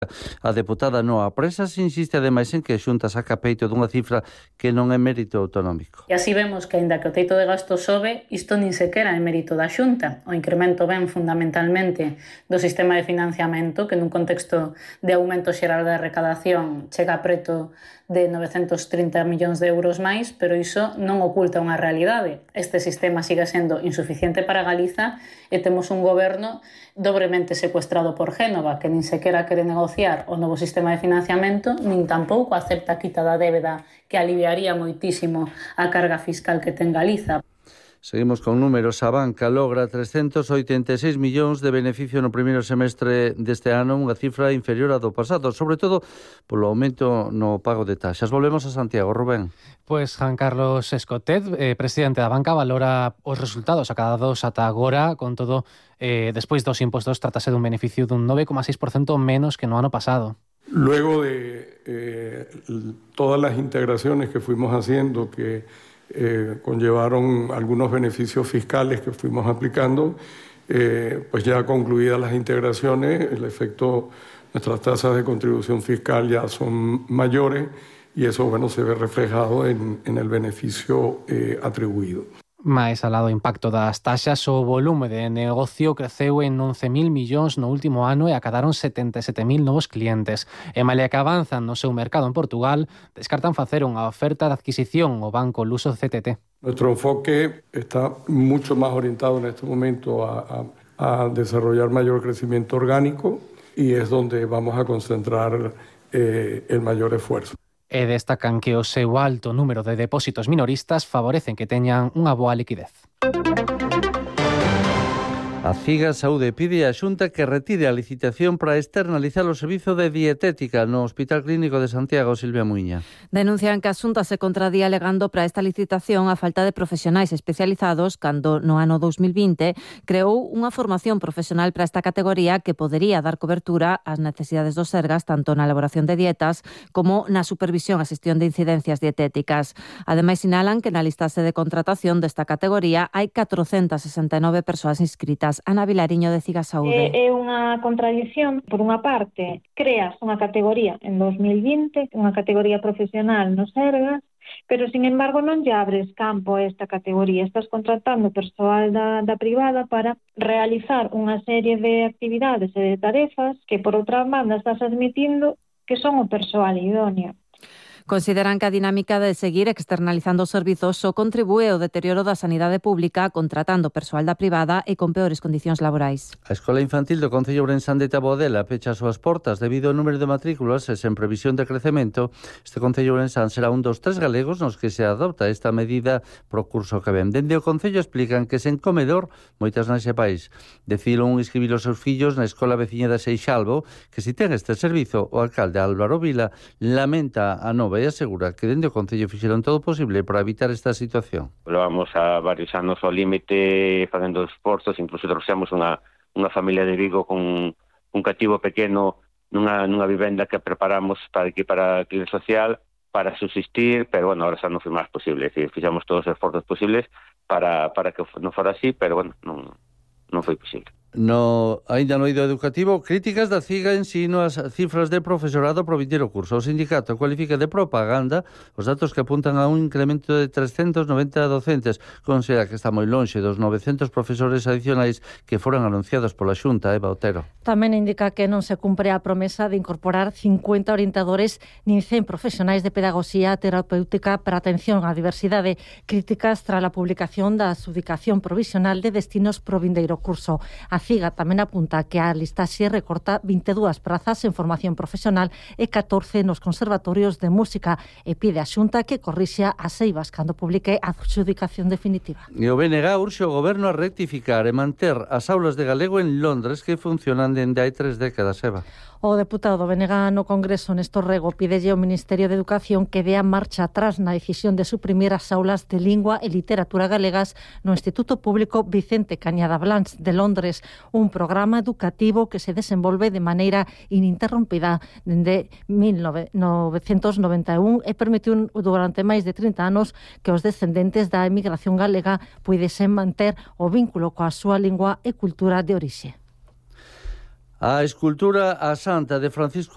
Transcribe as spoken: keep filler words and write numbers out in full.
A deputada Noa Presas insiste ademais en que a Xunta saca peito dunha cifra que non é mérito autonómico. E así vemos que, aínda que o teito de gasto sobe, isto nin sequera é mérito da Xunta. O incremento ven fundamentalmente do sistema de financiamento, que nun contexto de aumento xeral da recadación chega a preto de novecentos trinta millóns de euros máis, pero iso non oculta unha realidade. Este sistema sigue sendo insuficiente para Galiza e temos un goberno dobremente secuestrado por Génova, que nin sequera quere negociar o novo sistema de financiamento, nin tampouco acepta a quita da débeda, que aliviaría moitísimo a carga fiscal que ten Galiza. Seguimos con números. A banca logra trescentos oitenta e seis millóns de beneficio no primeiro semestre deste ano, unha cifra inferior á do pasado, sobre todo polo aumento no pago de taxas. Volvemos a Santiago, Rubén. Pois Juan Carlos Escotet, eh, presidente da banca, valora os resultados acadados ata agora, con todo, eh, despois dos impostos, tratase dun beneficio dun nove coma seis por cento menos que no ano pasado. Luego de eh, todas las integraciones que fuimos haciendo, que Eh, conllevaron algunos beneficios fiscales que fuimos aplicando, eh, pues ya concluidas las integraciones, el efecto, nuestras tasas de contribución fiscal ya son mayores y eso, bueno, se ve reflejado en, en el beneficio eh, atribuido. Mais alá do impacto das taxas, o volume de negocio creceu en once mil millóns no último ano e acadaron setenta e sete mil novos clientes. E malia que avanzan no seu mercado en Portugal, descartan facer unha oferta de adquisición ao banco luso C T T. Nuestro enfoque está mucho más orientado en este momento a, a, a desarrollar mayor crecimiento orgánico y es donde vamos a concentrar eh, el mayor esfuerzo. E destacan que o seu alto número de depósitos minoristas favorecen que teñan unha boa liquidez. A Figa Saúde pide á Xunta que retire a licitación para externalizar o servizo de dietética no Hospital Clínico de Santiago. Silvia Muiña. Denuncian que a Xunta se contradía alegando para esta licitación a falta de profesionais especializados cando no ano dos mil vinte creou unha formación profesional para esta categoría que podería dar cobertura ás necesidades dos Sergas tanto na elaboración de dietas como na supervisión e xestión de incidencias dietéticas. Ademais, sinalan que na listase de contratación desta categoría hai catrocentas sesenta e nove persoas inscritas. Ana Vilariño, de Figa Saúde. É unha contradición. Por unha parte, creas unha categoría en dos mil vinte, unha categoría profesional nos Sergas, pero, sin embargo, non lle abres campo a esta categoría. Estás contratando persoal da, da privada para realizar unha serie de actividades e de tarefas que, por outra banda, estás admitindo que son o persoal idóneo. Consideran que a dinámica de seguir externalizando os servizos só contribúe ao deterioro da sanidade pública contratando persoal da privada e con peores condicións laborais. A Escola Infantil do Concello Ourensán de Taboadela pecha as súas portas debido ao número de matrículas e sen previsión de crecemento. Este Concello Ourensán será un dos tres galegos nos que se adopta esta medida pro curso que ven. Dende o Concello explican que sen comedor moitas nese país decidiron inscribir os seus fillos na Escola Veciña de Seixalbo, que si ten este servizo, o alcalde Álvaro Vila lamenta a nova e asegura que dende o Concello fixeron todo o posible para evitar esta situación. Levamos a varios anos ao límite facendo esforzos, incluso trouxemos unha, unha familia de Vigo con un cativo pequeno nunha, nunha vivenda que preparamos para aquí para a clínica social para subsistir, pero bueno, ahora xa non foi máis posible, é dicir, fixamos todos os esforzos posibles para, para que non fora así, pero bueno, non, non foi posible. No, ainda no eido educativo, críticas da CIGA ensino as cifras de profesorado pro vindeiro curso. O sindicato cualifica de propaganda os datos que apuntan a un incremento de trescentos noventa docentes. Considera que está moi lonxe dos novecentos profesores adicionais que foran anunciados pola Xunta. Eva Otero. Tamén indica que non se cumpre a promesa de incorporar cincuenta orientadores nin cen profesionais de pedagogía terapéutica para atención á diversidade. Críticas tras a publicación da adxudicación provisional de destinos pro vindeiro curso. A CIGA tamén apunta que a listaxe recorta vinte e dúas prazas en formación profesional e catorce nos conservatorios de música e pide a Xunta que corrixa as eivas cando publique a adxudicación definitiva. E o B N G urxe o goberno a rectificar e manter as aulas de galego en Londres que funcionan dende hai tres décadas, Eva. O deputado do B N G no Congreso, Néstor Rego, pidelle ao Ministerio de Educación que dea marcha atrás na decisión de suprimir as aulas de lingua e literatura galegas no Instituto Público Vicente Cañada Blanch de Londres, un programa educativo que se desenvolve de maneira ininterrompida dende mil novecentos noventa e un e permitiu durante máis de trinta anos que os descendentes da emigración galega puidesen manter o vínculo coa súa lingua e cultura de orixe. A escultura A Santa de Francisco